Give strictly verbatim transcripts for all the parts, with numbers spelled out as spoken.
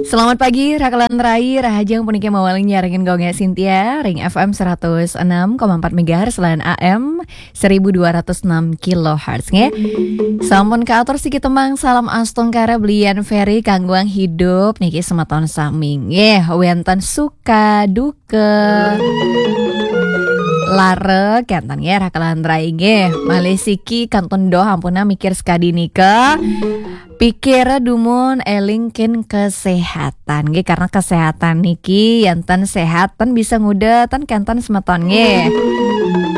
Selamat pagi, Rakalan Rai, Rahajeng puniki mawaling nyarengin Gung Gé Sintia, ring F M seratus enam koma empat megahertz lan A M seribu dua ratus enam kilohertz, nggih. Sampun kaatur siki tembang Salam Astungkara belian Ferry kangguang hidup niki semeton sami, nggih, wénten suka duka lara kénten, nggih, Rakalan Rai, nggih. Malih siki kantun doh ampuna mikir sekadi nika. Pikir dumun éling kin kesehatan, nggih, karena kesehatan niki yénten sehat ten bisa nguda ten kénten semeton, nggih.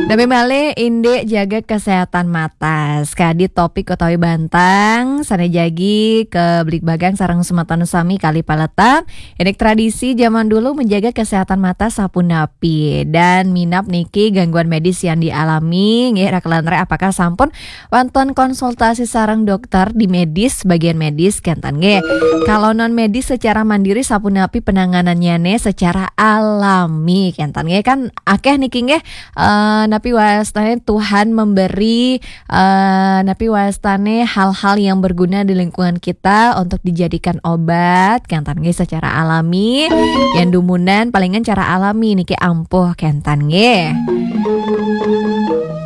Napi malih indik jaga kesehatan mata. Sekadi topik utawi bantang sané jagi kabligbagang sareng semeton sami kali paletan. Indik tradisi zaman dulu menjaga kesehatan mata sapunapi dan minab niki gangguan medis yang dialami, nggih, Rakalan Rai, apakah sampun wonten konsultasi sareng dokter di medis, bagian medis kénten, nggih. Kalau non medis secara mandiri sapunapi penanganannya nih secara alami kénten, nggih, kan akéh niki, nggih, eh, napi wastané Tuhan memberi, eh, napi wastané hal-hal yang berguna di lingkungan kita untuk dijadikan obat kénten, nggih, secara alami. Yang dumunan palingan cara alami niki ampuh kénten, nggih.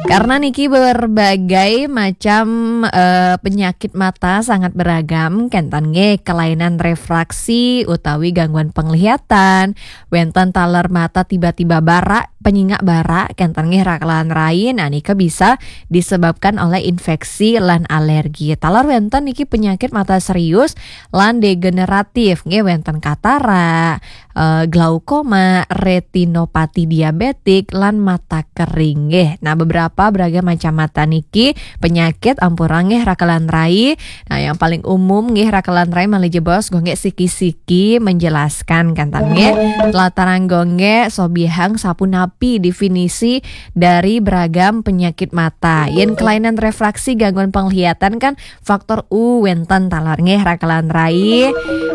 Karena niki berbagai macam, eh, penyakit mata sangat beragam, kénten, nggih, kelainan refraksi utawi gangguan penglihatan, wénten taler mata tiba-tiba bara, penyingak bara, kénten, nggih, Rakalan Rai, nah, nika bisa disebabkan oleh infeksi lan alergi. Taler wénten niki penyakit mata serius lan degeneratif, nggih, wénten katara, eh, glaukoma, retinopati diabetik, lan mata kering, nggih. Nah, beberapa beragam macam mata niki penyakit ampura, nggih, Rakalan Rai. Nah, yang paling umum, nggih, Rakalan Rai, malih jebos Gung Gé siki-siki menjelaskan kénten, nggih. Latarang Gung Gé sobihang sapunapi definisi dari beragam penyakit mata. Yén kelainan refraksi, gangguan penglihatan kan faktor u wénten taler, nggih, Rakalan Rai,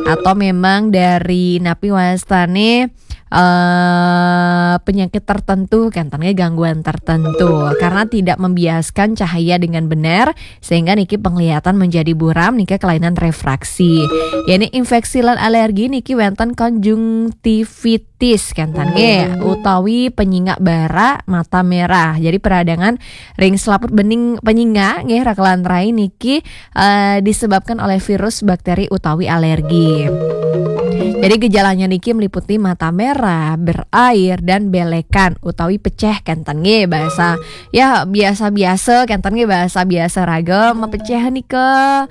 atau memang dari napi wastané, eh, penyakit tertentu, kénten, nggih, gangguan tertentu, karena tidak membiaskan cahaya dengan benar sehingga niki penglihatan menjadi buram, niki kelainan refraksi. Yén infeksi lan alergi niki wénten konjungtivitis, kénten, nggih, utawi penyingak bara, mata merah. Jadi peradangan ring selaput bening penyingak, nggih, Rakalan Rai, niki, eh, disebabkan oleh virus, bakteri utawi alergi. Jadi gejalanya niki meliputi mata merah, berair, dan belekan utawi pecéh kénten, nggih, bahasa, ya, biasa-biasa kénten, nggih, bahasa biasa raga, mepecéh nika.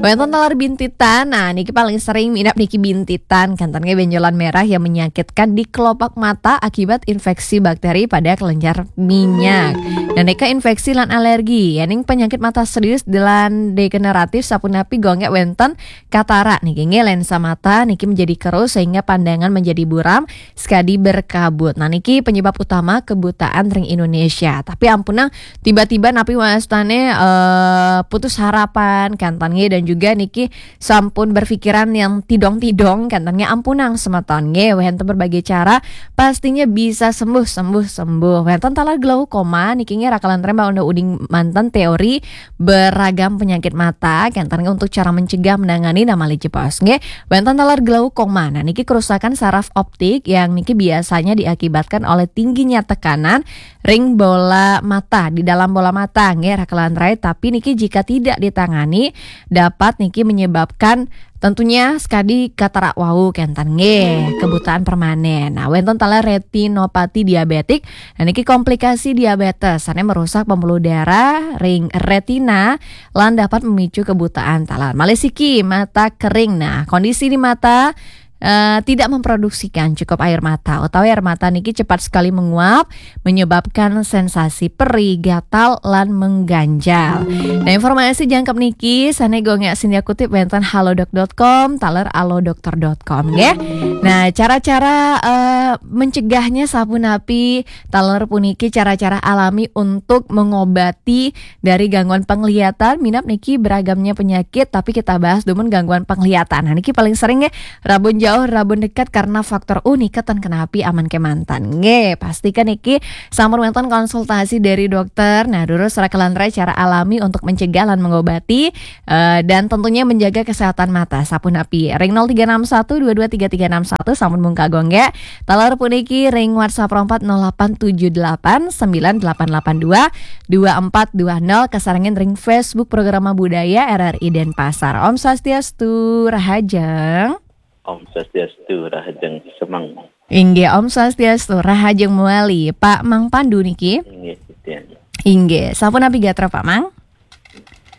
Wénten taler bintitan. Nah, niki paling sering minab niki bintitan kénten, nggih, benjolan merah yang menyakitkan di kelopak mata akibat infeksi bakteri pada kelenjar minyak. Dan nika infeksi lan alergi. Yéning penyakit mata serius lan degeneratif sapunapi Gung Gé, wénten katara niki, nggih, lensa mata niki menjadi keruh sehingga pandangan menjadi buram sekadi berkabut. Nah, niki penyebab utama kebutaan ring Indonesia. Tapi ampunang tiba-tiba napi wastané, eh, putus harapan kénten, nggih, dan juga niki sampun berpikiran yang tidong-tidong kénten, nggih, ampunang semeton, nggih, wénten berbagai cara pastinya bisa sembuh, sembuh, sembuh. Wénten taler glaukoma niki, nggih, Rakalan Rai, udah uding manten teori beragam penyakit mata kénten, nggih, untuk cara mencegah, menangani, nah, malih jebos, nggih. Wénten taler glaukoma. Nah, niki kerusakan saraf optik yang niki biasanya diakibatkan oleh tingginya tekanan ring bola mata, di dalam bola mata, nggih, Rakalan Rai. Tapi niki jika tidak ditangani, dapat niki menyebabkan tentunya sekadi katara wau kénten, nggih, kebutaan permanen. Nah, wénten taler retinopati diabetik. Nah, niki komplikasi diabetes, sané merusak pembuluh darah ring retina lan dapat memicu kebutaan taler. Malih siki, mata kering. Nah, kondisi di mata eh, tidak memproduksikan cukup air mata, utawi air mata niki cepat sekali menguap, menyebabkan sensasi perih, gatal, lan mengganjal. Nah, informasi jangkep niki sané Gung Gé Sintia kutip wénten halodoc dot com, taler alodokter dot com, nggih. Nah, cara-cara, eh, mencegahnya sapunapi, taler puniki cara-cara alami untuk mengobati dari gangguan penglihatan, minab niki beragamnya penyakit, tapi kita bahas dumun gangguan penglihatan. Nah, niki paling sering, nggih, rabun Jauh rabun dekat karena faktor unik keten kenapi aman kemanten. Nggih, pastikan niki sampun wonten konsultasi dari dokter. Nah, durus rakalan cara alami untuk mencegah lan mengobati, eh, dan tentunya menjaga kesehatan mata. Sapunapi? Ring nol tiga enam satu dua dua tiga tiga enam satu sampun mung kagong nggih. Taler puniki ring WhatsApp empat nol delapan tujuh delapan sembilan delapan delapan dua dua empat dua nol, kasarengin ring Facebook Programa Budaya R R I Denpasar. Om Swastiastu, rahajeng. Om Swastiastu, rahajeng semeng. Inggih, Om Swastiastu, rahajeng mewali. Pak Mang Pandu niki? Inggih, titiang. Inggih, sapunapi gatra Pak Mang?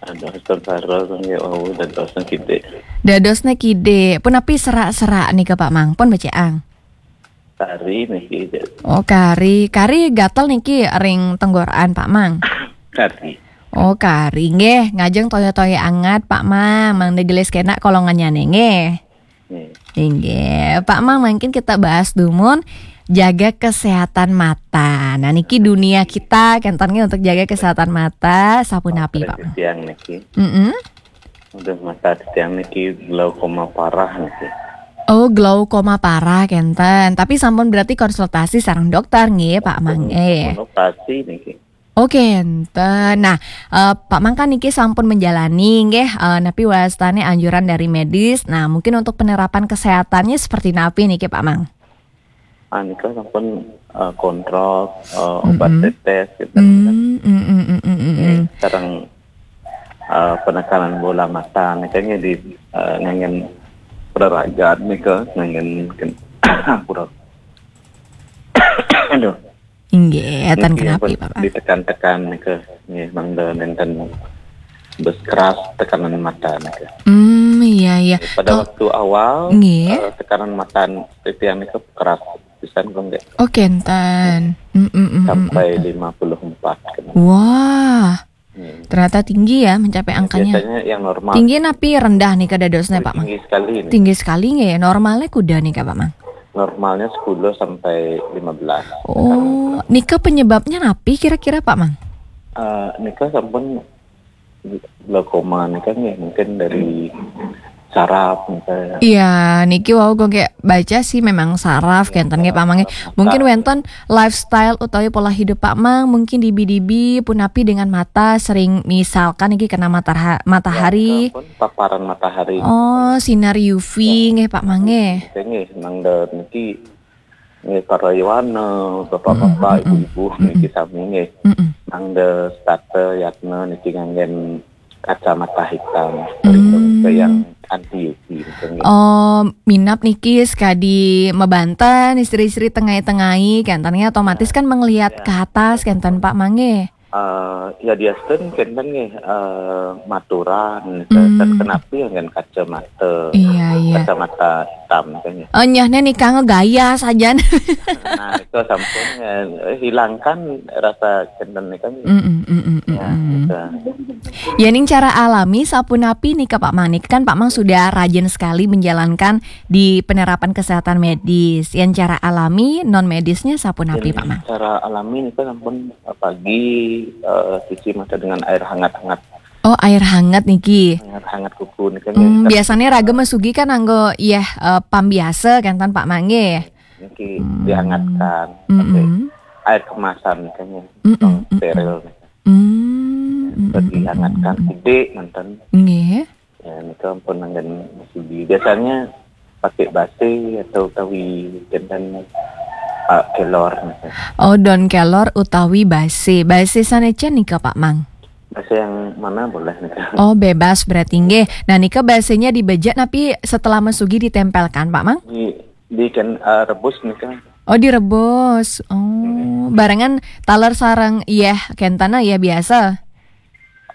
Aduh, astagfirullah, nggih, wau dadosna kidik. Dadosna kidik. Punapi serak-serak nika Pak Mang? Pun bacaang. Kari niki, Dek. Oh, kari. Kari gatel niki ring tenggorokan Pak Mang? Kari. Oh, kari. Nggih, ngajeng toya-toya anget Pak Mang. Mangda gelis kenak kolongannya nggih. Nggih. Inggih. Pak Mang, mungkin kita bahas dumun jaga kesehatan mata. Nah, niki dunia kita kenten nggih untuk jaga kesehatan mata. Sapunapi, Pak Mang? Titiang niki. Mm-mm. Udah, mata titiang niki glaukoma parah niki. Oh, glaukoma parah kenten. Tapi sampun berarti konsultasi sareng dokter nggih, Pak Mang. Sampun, eh, sampun operasi niki. Oh, kenten. Nah, eh, Pak Mang kan niki sampun menjalani nggih, eh, napi wastane anjuran dari medis. Nah, mungkin untuk penerapan kesehatannya seperti napi niki, Pak Mang? Ah, nika sampun, eh, kontrol, eh, obat, mm-mm, tetes gitu kan. Mm, mm, mm, mm, mm, mm. Nggih, sareng, eh, penekanan bola mata nika nggih di, eh, nganggen praragat nika, nganggen ken-, ampura. Aduh. Inggih, enten niki kenapi, ampun, Pak? Ditekan-tekan nika, nggih, mangda nenten bes keras tekanan mata nika. Hmm, iya, iya. Pada, oh, waktu awal, nggih, eh, tekanan mata titiang nika keras pisan kok, nggih. Oh, kenten. Mm, mm, mm, mm, sampai mm, lima puluh empat kena. Wah. Hmm. Ternyata tinggi ya mencapai angkanya. Biasanya yang normal. Tinggi napi rendah nika dadosna, Pak Mang? Tinggi sekali ini. Tinggi sekali nggih ya. Normalnya kuda nika, Pak Mang? Normalnya sepuluh sampai lima belas. Oh, nika penyebabnya napi kira-kira, Pak Mang? Eh, nika sampun glaukoma nika nggih mungkin dari saraf nika. Iya, niki wau kok kayak baca sih memang saraf kenten nggih Pak Mang. Mungkin wenten lifestyle utawi pola hidup Pak Mang, mungkin dibi-dibi punapi dengan mata sering misalkan niki kena matahari. Ya, pun paparan matahari. Oh, sinar U V nggih Pak Mang nggih. Nggih, nang niki nggih, para yowana, bapak-bapak, mm-mm, ibu-ibu, mm-mm, niki sami nggih. Mm-mm. Mangda setata yatna niki nganggen kacamata hitam, pelindung, mm, ke yang anti U V niki nggih. Oh, minab niki sekadi mabanten istri-istri tengai-tengai, kenten nggih, otomatis kan melihat ke atas, kenten Pak Mang nggih. Eh, ya, diasten kenten nggih, eh, maturan, ke-, hmm, kenapi nganggen kacamata. Iya, iya. Kacamata hitam, kan, ya. Oh, nyahne nika ngegaya sajan. Nah, itu sampun, eh, hilangkan rasa kenten nika nggih. Mm-mm, mm-mm, ya, mm-mm. Gitu. Ya, ning cara alami sapunapi nika Pak Mang? Kan Pak Mang sudah rajin sekali menjalankan di penerapan kesehatan medis. Yang cara alami, non medisnya sapunapi, Pak Mang? Cara alami nika sampun pagi, eh, cuci mata dengan air hangat-hangat. Oh, air hangat niki. Hangat-hangat kuku nika. Hmm, nggih, biasanya raga masugi kan anggo, iya, eh, pam biasa kan, tan Pak Mang nggih. Niki, hmm, dihangatkan, mm-mm, pakai air kemasan nika nggih. Mm-mm, mm-mm. Steril nika. Hmm, mm-mm, mm-mm, dihangatkan, mm-mm, sidik, nonton. Nggih. Ya, nika ampun nanggen masugi. Biasanya pakai base atau utawi kenten, ah, kelor nika. Oh, daun kelor utawi base. Base sanecen nika, Pak Mang? Base yang mana boleh nika. Oh, bebas berarti nggih. Nah, nika basenya dibejek napi setelah masugi ditempelkan, Pak Mang? Di, di ken-, eh, rebus nika. Oh, direbus. Oh, nggih. Barengan taler sareng, iya, kentena, iya, biasa.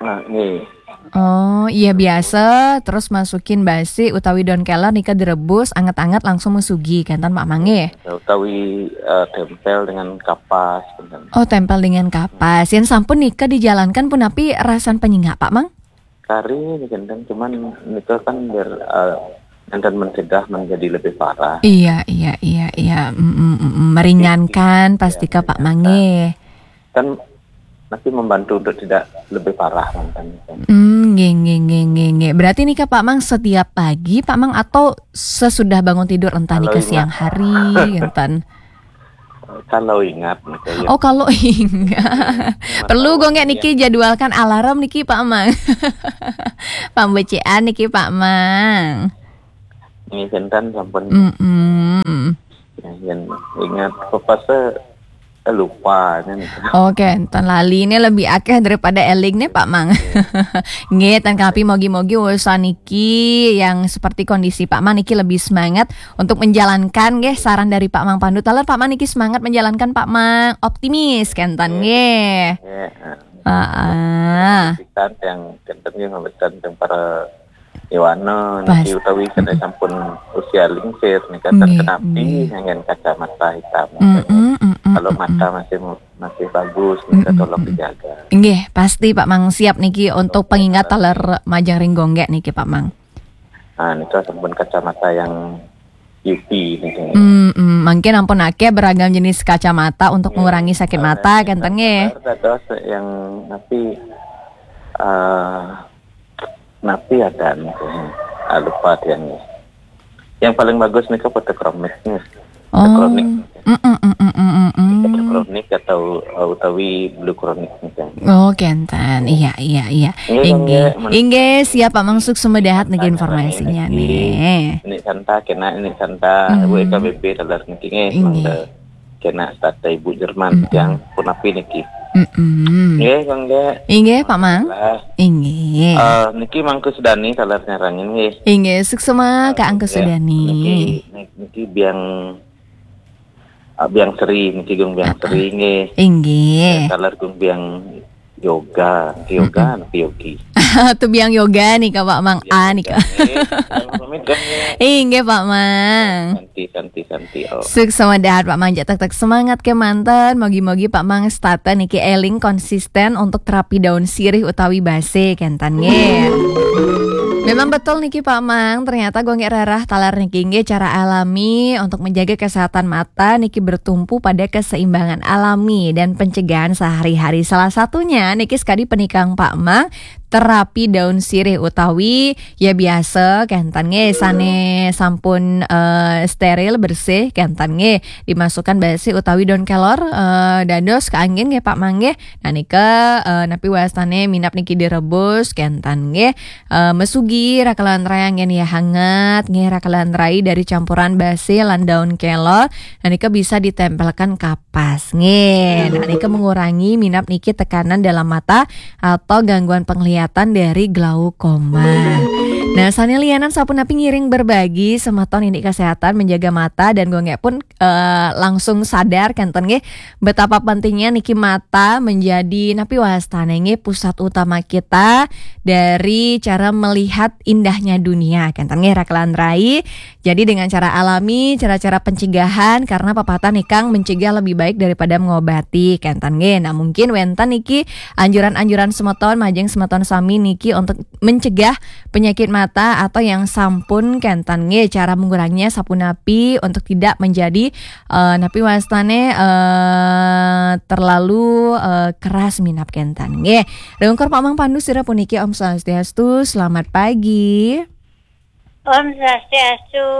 Nah, nggih. Oh, iya, biasa, terus masukin basi utawi daun kelor nika direbus, anget-anget langsung mesugi, kenten Pak Mang nggih? Ya, utawi, eh, tempel dengan kapas, kenten. Oh, tempel dengan kapas. Yang sampun nika dijalankan punapi rasan penyengak, Pak Mang? Kari, kenten, cuman nika kan biar, eh, enten mencegah menjadi lebih parah. Iya, iya, iya, iya. Mm, mm, mm, mm. Meringankan, iya, pasti ke Pak Mang nggih. Kan nanti membantu untuk tidak lebih parah mantan itu. Hmm, nggih, nggih, nggih, nggih, nggih. Berarti nika Pak Mang setiap pagi, Pak Mang, atau sesudah bangun tidur, entah Kalau nika siang ingat. hari, enten. Kalau ingat, gitu ya. Oh, kalau ingat. Perlu gue nggak niki jadwalkan alarm niki, Pak Mang. Pambecikan niki, Pak Mang. Ini sinten sampun Mm-mm. Yang ingat, apa saya lupa kan. Oke, enten lali ini lebih akeh daripada eling nih, Pak Mang. Nggih, enten kapi mogi-mogi urusan niki yang seperti kondisi Pak Mang niki lebih semangat untuk menjalankan nggih saran dari Pak Mang Pandu. Taler Pak Mang niki semangat menjalankan, Pak Mang, optimis kenten nggih. Ya, Heeh. Kita yang kenten yang memberikan yang para Iwana Pas. Niki utawi kena sampun usia lingsir nih kan Nggih, kenapi nggih. Dengan kacamata hitam. Mm-mm, mm-mm, Kalau mm-mm. Mata masih masih bagus nih Mm-mm, tolong mm-mm. Dijaga. Nggih, pasti Pak Mang siap niki untuk pengingat taler majeng ring gonggek niki, Pak Mang. Nah, nika sampun kacamata yang beauty nih. Hmm, hmm, mungkin ampun akeh beragam jenis kacamata untuk mengurangi sakit mata, kenten nggih. Ada yang napi eh napi ada nih. Ah, lupa dia nih. Yang paling bagus nih fotokromik nih. Oh. Kronik. Mm, mm, mm, mm, mm, mm, mm. Kronik atau uh, utawi blue kronik nih kan. Oh, kenten. Iya, iya, iya. Nggih, Inggih. nggih, men- Inggih, siap Pak Mang, suk semedahat niki Tanya informasinya niki. nih. Ini santa kena ini santa Hmm. W K B B taler niki nggih Inggih. Mangga kena stata ibu Jerman Mm-mm. yang punapi niki. Mm-mm. Nggih, Kang Dek. Inggih, Pak Mang. Lah, Inggih. eh, niki Mangku Sudani taler nyarangin nggih. Inggih, suksema Kak Angku Ya, Sudani. Niki, niki biang ah, biang seri niki gung biang seri nggih. Inggih. Taler gung biang yoga, yoga, yogi. Tu biang yoga nih Kak Pak Mang. Ah, nih Kak. Nggih, pamit kan nggih. Inggih, Pak Mang. Santi, santi, santi. Oh. Suksema dahat Pak Mang, jak tek-tek semangat kemanten. Mogi-mogi Pak Mang stata niki eling konsisten untuk terapi daun sirih utawi base kenten nggih. Memang betul niki Pak Mang, ternyata gonggek rarah taler niki nggih cara alami untuk menjaga kesehatan mata niki bertumpu pada keseimbangan alami dan pencegahan sehari-hari. Salah satunya niki sekadi penikang Pak Mang terapi daun sirih utawi ya biasa kenten nggih sane sampun eh, steril bersih kenten nggih dimasukkan base utawi daun kelor eh, dados kaanggin nggih Pak Mang nggih. Nah nika eh, napi wastane minap niki direbus kenten nggih eh, mesugi rakalan rai anggen ya hangat nggih rakalan rai dari campuran base lan daun kelor. Nah nika bisa ditempelkan kapas nggih. Nah nika mengurangi minap niki tekanan dalam mata atau gangguan penglihatan dari glaukoma. Nah, sane lianan sapunapi ngiring berbagi semeton ini kesehatan menjaga mata dan gonggek pun eh, langsung sadar kenten nggih betapa pentingnya niki mata menjadi napi wastane nggih pusat utama kita dari cara melihat indahnya dunia kenten nggih rakalan rai. Jadi dengan cara alami, cara-cara pencegahan karena pepatah nikang mencegah lebih baik daripada mengobati kenten nggih. Nah, mungkin wenten niki anjuran-anjuran semeton majeng semeton sami niki untuk mencegah penyakit mata atau yang sampun kenten nggih cara menguranginya sapunapi untuk tidak menjadi eh, napi wastane eh, terlalu eh, keras minap kenten nggih. Rungkur Pak Mang Pandu sira puniki Om Swastiastu, selamat pagi. Om Swastiastu,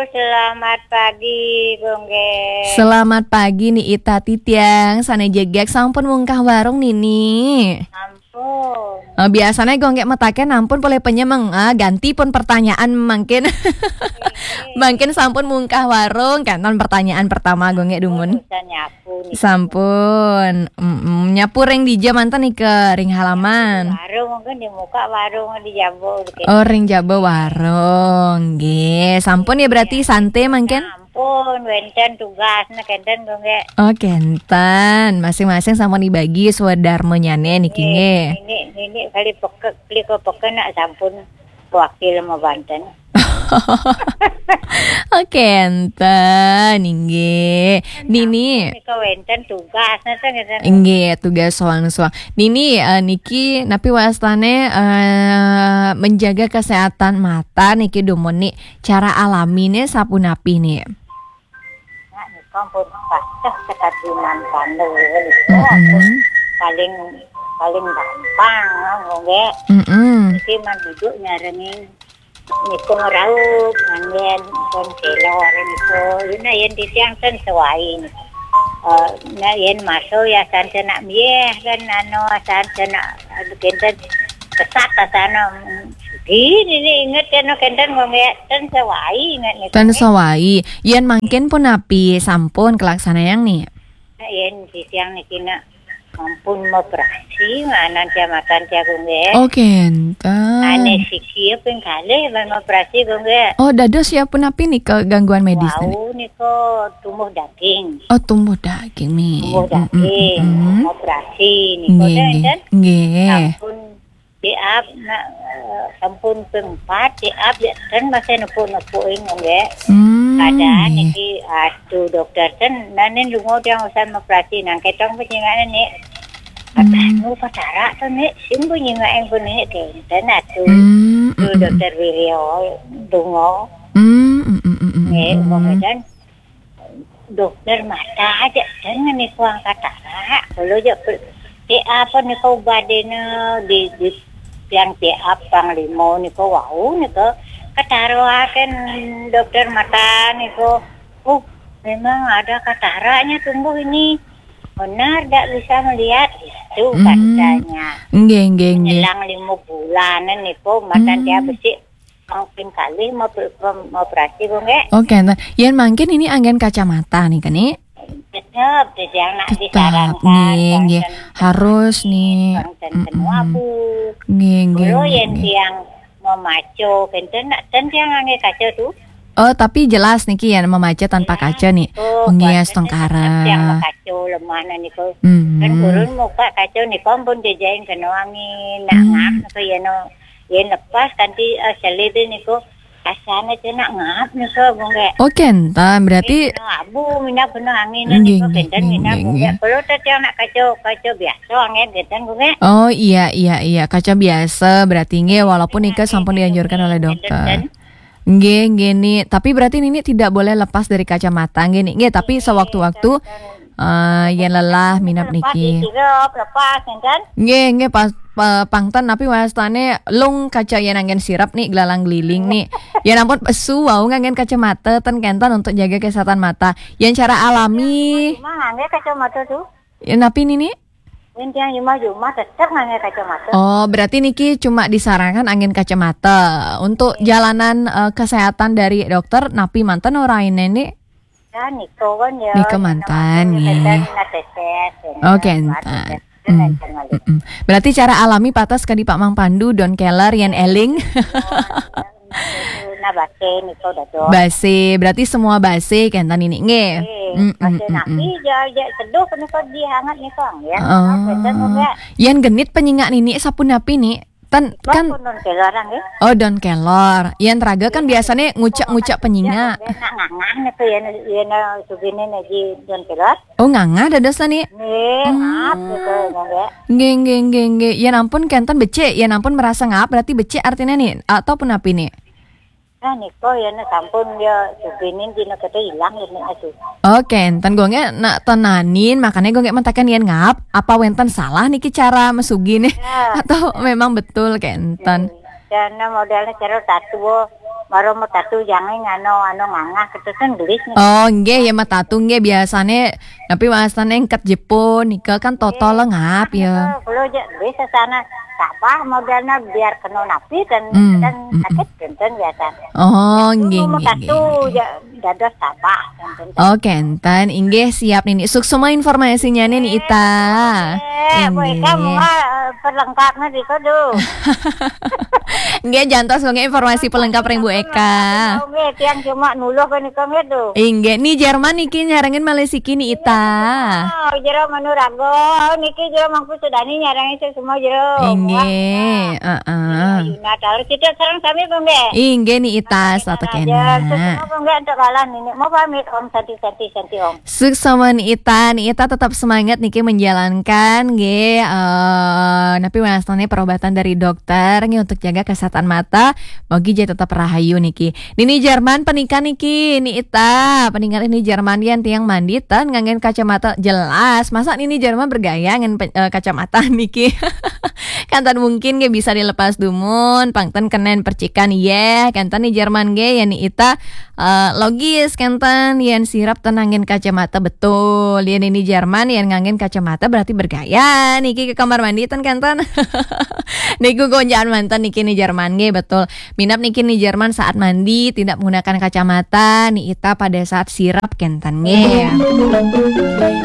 selamat pagi, Gung Gek. Selamat pagi Ni Ita Titiang, sane jegek sampun mungkah warung Nini. Ampun. Eh, biasanya gonggek metaken ampun boleh penyemeng ah, ganti pun pertanyaan mungkin. Mungkin sampun mungkah warung kan pertanyaan pertama gonggek dumun. Bisa nyapu nih. Sampun, mm nyapu ring dija manten nih ke ring halaman. Warung mungkin dibuka warung di Jambo gitu. Oh, ring jaba warung, nggih. Sampun ya berarti sante mangkin. Ampun, wenten tugas nah kenten Gung Gek. Oh, kenten. Masing-masing sampun dibagi swadarmanyane niki nggih. Ini ini kali peke kali ke peke nak sampun wakil mau banten. Oh, kenten, nggih. Nini. Nika wenten tugas nah teh ngeten. Nggih, tugas soang-soang. Nini eh, niki napi wastane eh, menjaga kesehatan mata niki dumun ni cara alamine sapunapi ni. Nah, nika pun pacah ketatinan pandu. Mm-mm. paling, paling gampang, nggih. Mm-mm. Iki man duduk nyarengin niku ngeraup, ngangen pun kelor niku. Yuna yen titiang ten sewai niku. Eh, nah, yen maso ya san senak mieh kan, anu, san senak, anu, kenten kesat asana. Gini nih inget kena kenten ngomong ten sewai inget niku. Ten sewai. Yen mangkin pun api sampun kelaksanayang nih. Nah, yen titiang niki nak ampun operasi, nganan tia matan tia, nggih. Oh, kenten. Ane siki ya ping kalih ban operasi, nggih. Oh, dados ya pun api nih kegangguan medis nih? Wau nika tumbuh daging. Oh, tumbuh daging nih. Tumbuh daging, operasi nih. Nggih, nggih. Nggih. Sampun diap, nak, eh, sampun ping empat, diap, ya, ten masih nepuk-nepuk ini, nggih. Hmm, keadaan nggih. Niki, aduh, dokter, ten, nanin lungo dia urusan operasi, nang ketong penyingan ini. Kata, hmm, nu patara tuh, nih, sing penyingan yang pun ini, kenten, aduh. Hmm, hmm, hmm. Dokter Wiryo, dungo. Hmm, hmm, hmm, hmm, hmm. Nggih, hmm. Kemudian dokter mata aja, ten niku angkat arak. Kalau aja pe-, P A apa niku badene di, di yang P A panglima niku wau niku ketaruhaken dokter mata niku. "Oh, memang ada kataraknya tumbuh ini. Benar tidak bisa melihat," itu katanya. Nggih, nggih, nggih. Menjelang lima bulanan niku matan dia besi. Mungkin kali mau pe-, mau operasi, Bu, nggih. Oke, nah, yen mangkin ini anggen kacamata nih, kan, nih? Tetep, jadi anak disarankan, nggih, nggih. Harus nih. Nggih, nggih, nggih. Kalau yen tiang mau maco, kenten nak ten tiang angge kaca tuh. Oh, tapi jelas niki ya, memaca tanpa kaca nih. Oh, nggih, astungkara. Tiang mau kaca lemah niku. Kan gurun muka kaca niku ampun jejain kena angin, nak ngap niku ya no. Yen lepas kanthi, eh, selid niku asane cenak ngap niku, Bu, nggih. Oh, kenten, berarti. Nggih, abu minyak bener angin niku kenten minyak, Bu, nggih. Kalau tadi anak kaca, kaca biasa angin kenten, Bu, nggih. Oh, iya, iya, iya, kaca biasa berarti nggih, walaupun nika sampun dianjurkan oleh dokter. Nggih, nggih, nih. Tapi berarti Nini tidak boleh lepas dari kacamata, nggih, nih. Nggih, tapi sewaktu-waktu, eh, yen lelah minap niki. Sirep, lepas, kenten. Nggih, nggih, pas, pa-, pangten, tapi wastane lung kaca yen anggen sirep nih, gelalang geliling nih. Yen ampun pesu, wau nganggen kacamata, ten kenten untuk jaga kesehatan mata. Yen cara alami. Cuma ngangge kacamata tuh. Ya, napi Nini? Yen tiang jumah-jumah tetep ngangge kacamata. Oh, berarti niki cuma disarankan anggen kacamata. Untuk jalanan, eh, kesehatan dari dokter, napi manten ora ini, Nini? Ya, niku kan ya. Niku manten, nggih. Kenten ngatetes, ya. Oh, kenten. Berarti cara alami patas kadi Pak Mang Pandu, don keler, yen eling. Nah, base niku dados. Base, berarti semua base kenten ini, nggih. Nggih, base nasi, ja, ja, seduh niku dihangat niku, ya. Oh. Kenten, nggih. Yen genit penyingak Nini sapunapi, Ni? Ten, kan don keler, nggih. Oh, don keler. Yen raga kan biasane ngucek-ngucek penyingak. Nak ngangah niku yen, yen sugine niki don keler. Oh, ngangah dados, Ni? Nggih, ngap niku, nggih. Nggih, nggih, nggih, nggih. Yen ampun kenten becik, yen ampun merasa ngap berarti becik artine, Ni? Atau punapi, Ni? Nah, niku yen sampun ya sugine dina kete ilang yen niku. Oh, kenten, gue nggih nak tenanin, makanya gue nggih mentaken yen ngap, apa wenten salah niki cara mesugine? Ya. Atau memang betul kenten? Karena modelnya cara tatu, baru mau tatu jangan anu, anu ngangah, kita kan gelis nih. Oh, nggih, ya, metatu nggih biasane, tapi wastane engket Jepun nika kan toto lengap ya. Kalau aja gelis sana, tak apa modelnya biar kena napi dan, dan sakit kenten biasa. Oh, nggih, nggih, nggih. Tatu ya dados tabah. Oh, kenten. Inggih, siap, Nini. Suksma informasinya, Nini Ita. Eh, Bu Eka, mula, eh, perlengkapnya di kodo. Nggih, jantos nggih informasi pelengkap ring Bu Eka. Nggih, tiang cuma nuluh kan niku nggih tuh. Inggih, Ni Jerman niki nyarengin malih siki, Ni Ita. Oh, jero Manuraga. Oh, niki jero Mangku Sudani nyarengin semua jero. Inggih, heeh. Natal kita sareng sami, Bu, nggih. Inggih, Ni Ita, satu kena. Semua, Bu, nggih, untuk Jalan ini, mau pamit, Om. Santi, Santi, Santi, Om. Suksma Ni Ita, Ni Ita tetap semangat niki menjalankan nggih, eh, napi wastane perobatan dari dokter nggih untuk jaga kesehatan mata. Mogi jadi tetap rahayu niki. Nini Jerman penika niki, Ni Ita, peningal Nini Jerman yen tiang mandi ten nganggen kacamata jelas. Masa Nini Jerman bergaya ngen pe- eh, kacamata niki? Kanten mungkin nggih bisa dilepas dumun, pang ten kenen percikan yeh. Kanten Ni Jerman nggih ya Ni Ita, eh, logis kanten yen sirap ten nganggen kacamata betul. Yen Nini Jerman yen nganggen kacamata berarti bergaya niki ke kamar mandi ten kanten. Niku gonjaan manten niki Ni Jerman nggih betul. Minap niki Ni Jerman saat mandi tidak menggunakan kacamata, Ni Ita pada saat sirap kenten nggih.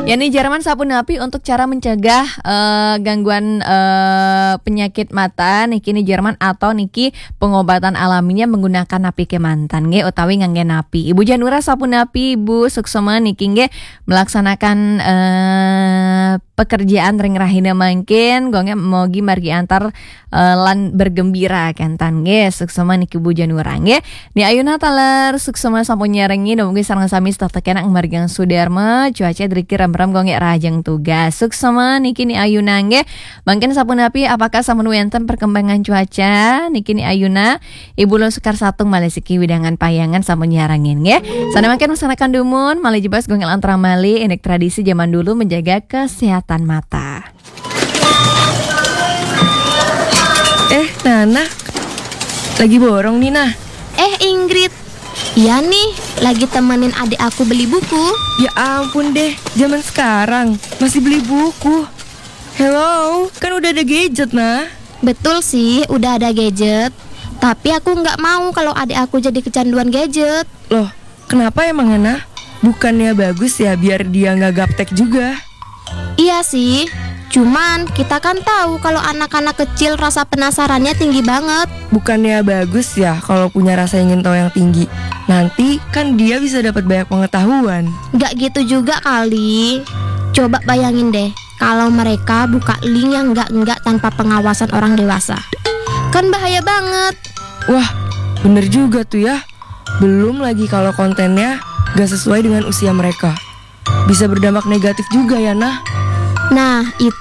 Ya Ni Jerman sapunapi untuk cara mencegah eh, gangguan eh, penyakit mata niki Ni Jerman atau niki pengobatan alaminya menggunakan napi kemanten nggih utawi ngangge napi. Ibu Janura sapunapi Ibu suksma niki nggih melaksanakan eh, pekerjaan ring rahina mangkin, gonge mogi margi antar eh, lan bergembira kantan nggih. Suksma niki Bu Janura nggih. Ni Ayuna taler suksma sampun nyarengi, dumugi sareng sami setata kenak margi sudarma, cuaca driki rem-rem gonge rajeng tugas. Suksma niki Ni Ayuna nggih. Mangkin sapunapi apakah sampun wenten perkembangan cuaca niki Ni Ayuna? Ibu Lun Sekar Satung malih siki widangan payangan sampun nyarengin nggih. Sana mangkin masyarakat dumun malih jebas gonge lan terang malih, enek tradisi zaman dulu menjaga kesehatan mata. Eh, Nana, lagi borong nih, nah. Eh, Ingrid. Iya nih, lagi temenin adik aku beli buku. Ya ampun deh, zaman sekarang masih beli buku. Hello, kan udah ada gadget, nah. Betul sih, udah ada gadget. Tapi aku nggak mau kalau adik aku jadi kecanduan gadget. Loh, kenapa emang, nah? Bukannya bagus ya biar dia nggak gaptek juga? Iya sih, cuman kita kan tahu kalau anak-anak kecil rasa penasarannya tinggi banget. Bukannya bagus ya kalau punya rasa ingin tahu yang tinggi? Nanti kan dia bisa dapat banyak pengetahuan. Nggak gitu juga kali. Coba bayangin deh, kalau mereka buka link yang nggak-nggak tanpa pengawasan orang dewasa. Kan bahaya banget. Wah, bener juga tuh ya. Belum lagi kalau kontennya gak sesuai dengan usia mereka. Bisa berdampak negatif juga ya, nah. Nah, itu